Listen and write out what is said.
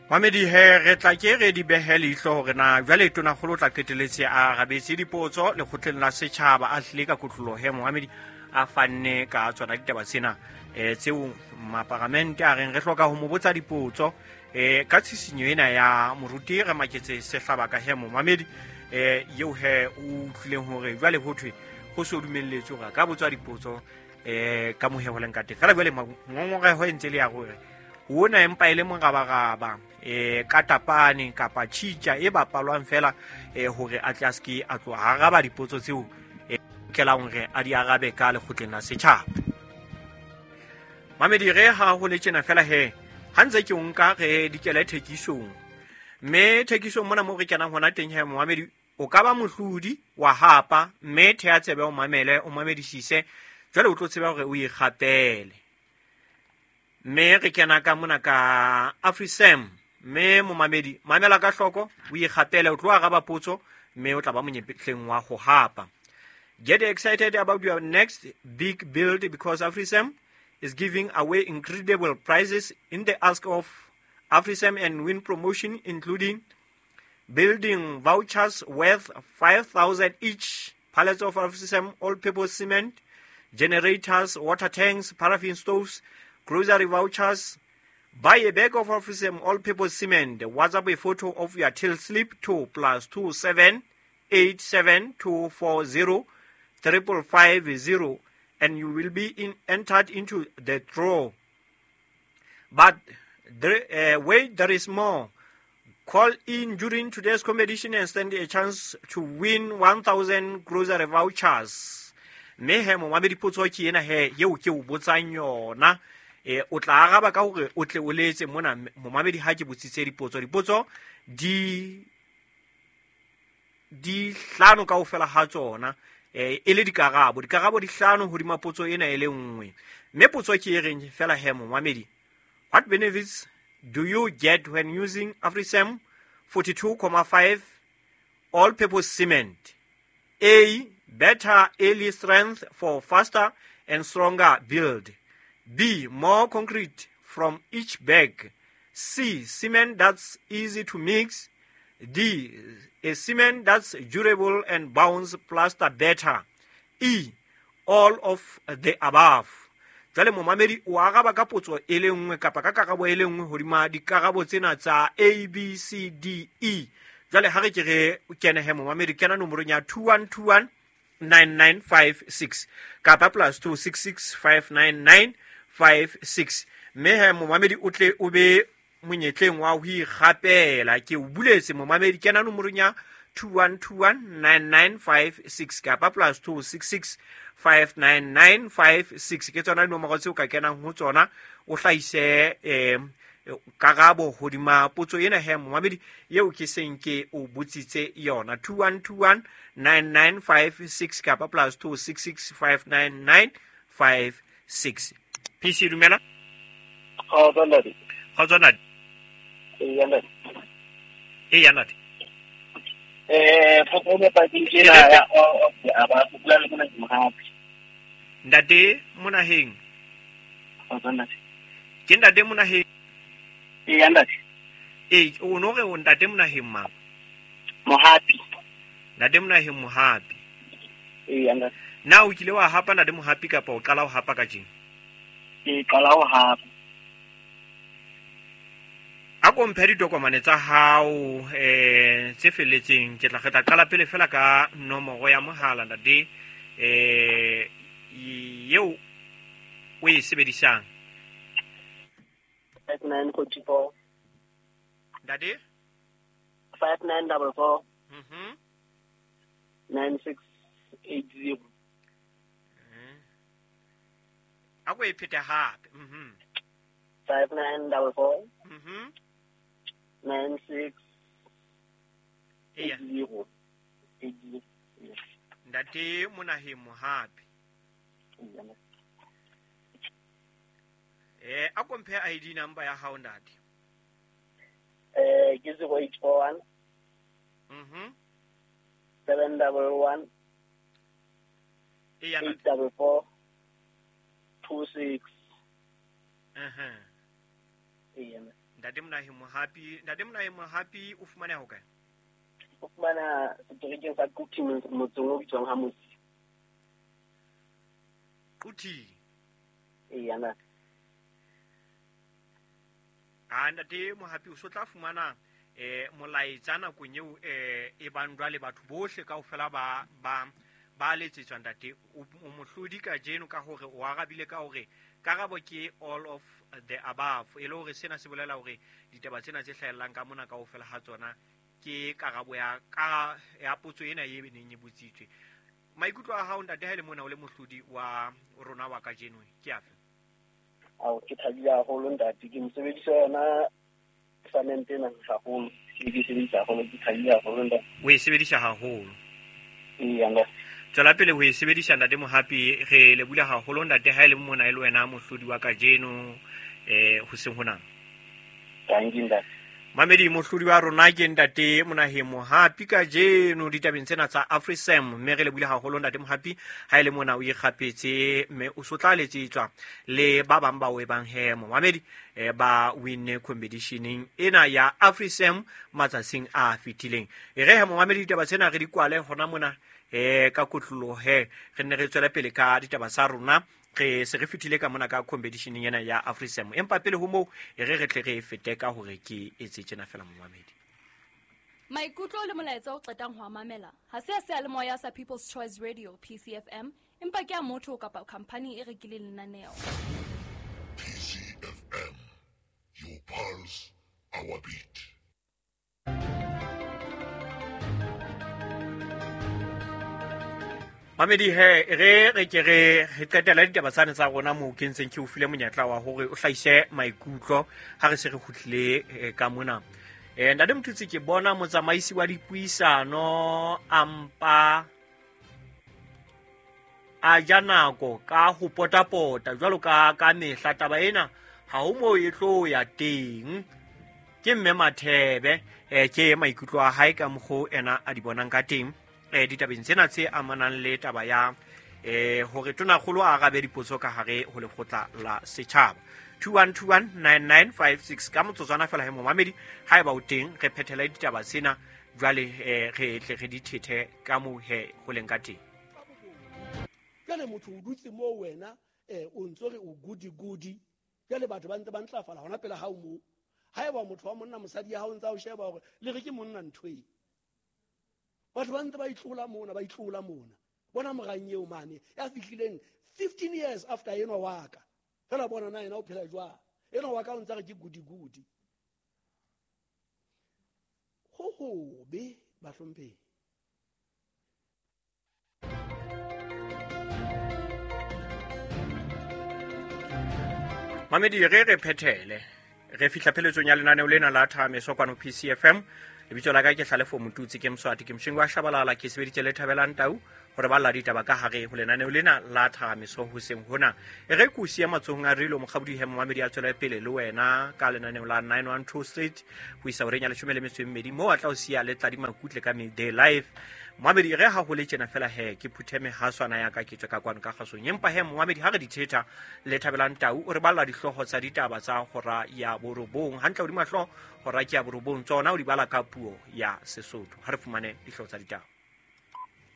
Mamedi he re tla ke re di behe leihlo hore na jwale tonakgolo o tla qeteletse a arabetse dipotso lekgotleng la setjhaba a tlile ka kotloloho he momamedi a fanne ka tsona ditaba tsena tseo maparamente a reng re hloka ho mo botsa dipotso ka tshisinyo ena ya moruti re maketse sehlaba ka he momamedi eo he o utlwileng hore jwale ho thwe ho so dumelletswe hore a ka botswa dipotso ka mohe ho leng ka teng. Fela jwale ngongoreho e ntse le ya hore ona empa e le morabaraba ka tapane kapa tjhitja e bapalwang fela hore a tle a seke a tloha araba dipotso tseo lokelang hore a di arabe ka lekgotleng la setjhaba. Mamedi re ha ho le tjena fela he ha ntse ke o nka re dikele thekisong, mme thekisong mona mo re kenang hona teng he momamedi o ka ba mohlodi wa hapa, mme thea tsebe o mamele o mamedisise jwale o tlo tseba hore o ikgapele. Mme re kena ka mona ka AfriSam, mme momamedi mamela ka hloko o ikgapele, o tlo araba potso mme o tla ba monyetleng wa ho hapa. Get excited about your next big build because AfriSam is giving away incredible prizes in the ask of AfriSam and win promotion, including building vouchers worth 5,000 each, pallets of AfriSam all-purpose cement, generators, water tanks, paraffin stoves, grocery vouchers. Buy a bag of AfriSam all-purpose cement. WhatsApp a photo of your till slip to +27 87 240 555 0, and you will be entered into the draw. But there, wait, there is more. Call in during today's competition and stand a chance to win 1,000 grocery vouchers. Mme he momamedi potso ke ena he eo ke o botsang yona. O tla araba ka hore o tle o letse mona momamedi ha ke botsitse dipotso. Dipotso di hlano kaofela ha tsona, e le dikarabo. Dikarabo di hlano hodima potso ena e le nngwe. Mme potso ke e reng fela he momamedi, what benefits do you get when using AfriSam 42.5 all-purpose cement? A, better early strength for faster and stronger build. B, more concrete from each bag. C, cement that's easy to mix. D, a cement that's durable and bounce plaster better. E, all of the above. Jwale momamedi o araba ka potso e le nngwe kapa ka karabo e le nngwe hodima dikarabo tsena tsa A, B, C, D, E. Jwale ha re ke re kene he momamedi, kena nomorong ya 2121 9956 kapa +266 599 56. Mme he momamedi o tle o be monyetleng wa ho ikgapela. Ke o buletse momamedi, kena nomorong ya 2121 9956 kapa +266 599 56. Ke tsona dinomoro tseo ka kenang ho tsona o hlahise karabo hodima potso ena he momamedi eo ke seng ke o botsitse yona. 2121 9956 kapa +266 599 56. PC dumela. Kgotso ntate. Kgotso ntate. Eya ntate. Eya ntate. Potso e nepahetseng ke ena ya all of the above. O bua le mona ke Mohapi. Ntate Monaheng. Kgotso ntate. Ke ntate Monaheng. Eya ntate. Ee, o no re o ntate Monaheng mang? Mohapi. Ntate Monaheng Mohapi. Eya ntate. Na o kile wa hapa ntate Mohapi kapa o qala ho hapa kajeno? Ke qala ho hapa. A ko mphe ditokomane tsa hao tse felletseng. Ke tla re tla qala pele fela ka nomoro ya mohala ntate eo o e sebedisang. 5944. Ntate? 5944. 9680. A ko e phete hape. 5944. 96 80. 80. Ntate Monaheng Mohapi. A ko mphe ID number ya hao ntate. Ke 0841. 711. Eya, ntate. 844 26. Eya. Ntate Monaheng Mohapi, Ntate Monaheng Mohapi o fumaneha hokae? O fumana seterekeng sa Quthing, motseng o bitswang ha Mosi. Quthing. Eya na. A Ntate Mohapi o so tla fumana molaetsa nakong eo e bang jwale batho bohle kaofela ba letsetswa ntate. O mohlodi kajeno ka hore o arabile ka hore karabo ke all of the above, e le hore sena se bolela hore ditaba tsena tse hlahellang ka mona kaofela ha tsona ke karabo ya potso ena e neng e botsitswe. Maikutlo a hao ntate ha e le mona o le mohlodi wa rona wa kajeno ke afe? Ao, ke thabile haholo ntate, ke mosebedisa yona samente ena haholo, ke sebedisa haholo, ke thabile haholo ntate. O e sebedisa haholo? Eya ntate. Tswela pele ho e sebedisa ntate Mohapi, re lebohile haholo ntate ha e le mona e le wena mohlodi wa kajeno hoseng hona. Thank you ntate. Mamedi, mohlodi wa rona ke ntate Monaheng Mohapi kajeno ditabeng tsena tsa AfriSam, mme re lebohile haholo ntate Mohapi ha e le mona o ikgapetse mme o so tla letsetswa le ba bang ba o e bang he momamedi ba winne competitioneng ena ya AfriSam matsatsing a fetileng. E re he momamedi ditaba tsena re di kwale hona mona ka kotloloho he re nne re tswele pele ka ditaba tsa rona. Re se re fetile ka mona ka competitioneng ena ya AfriSam, empa pele ho moo e re re tle re fete ka hore ke etse tjena fela momamedi. Maikutlo le molaetsa o qetang ho a mamela ha se a seyalemoya sa People's Choice Radio PCFM, empa ke a motho kapa company e rekileng lenaneo. PCFM, your pulse, our beat. Mamedi he re ke re qetela ditaba tsane tsa rona moo ke ntseng ke o file monyetla wa hore o hlahise maikutlo ha re se re kgutlile ka mona. Ntate Motutsi, ke bona motsamaisi wa dipuisano a mpa a ja nako ka ho potapota jwalo ka mehla. Taba ena ha ho moo e tlo ya teng. Ke mme Mathebe, ke maikutlo a hae ka mokgo ena a di bonang ka teng ditabeng tsena tse amanang le taba ya hore tonakgolo a arabe dipotso ka hare ho lekgotla la setjhaba. 21219956 ka motsotswana fela he momamedi, haeba o teng re phethele ditaba tsena jwale re tle re di thethe ka moo he ho leng ka teng. Jwale motho o dutse moo wena o ntso re o goody goody, jwale batho ba ntse ba ntlafala hona pele hao moo. Haeba motho wa monna mosadi ya hao ntse a o sheba hore le re ke monna ntho e. Batho ba ntse ba itlola mona, ba itlola mona. Bona morang eo mane ya fihlileng 15 years after enwa wa ka. Fela bona na yena o phela jwang. Enwa wa ka o ntse re ke goody goody. Ho hobe bahlomphehi. Mamedi, re phethele. Re fihla pheletsong ya lenaneo lena la Thameso kwano PCFM. Lebitso la ka ke Hlalefo Motutsi, ke Mswati, ke Mshengu wa Shabalala, ke sebeditse le Thabelang Tau hore ba lla ditaba ka hare ho lenaneo lena la Thameso hoseng hona. E re ke o siya matsohong a Rilo Mokgabodi he momamedi a tswele pele le wena ka lenaneo la 912 Street ho isa horeng ya 12 moo a tla o siya le Tladi Makutle ka Midday Life. Momamedi, re ha ho le tjena fela he ke phuthe mehaswana ya ka ke tswe ka kwano ka kgasong. Empa he momamedi ha re di thetha le Thabelang Tau o re balla dihlooho tsa ditaba tsa hora ya 9 hantle hodima hlooho hora ke ya 9 tsona o di bala ka puo ya Sesotho. Ha re fumane dihlooho tsa ditaba.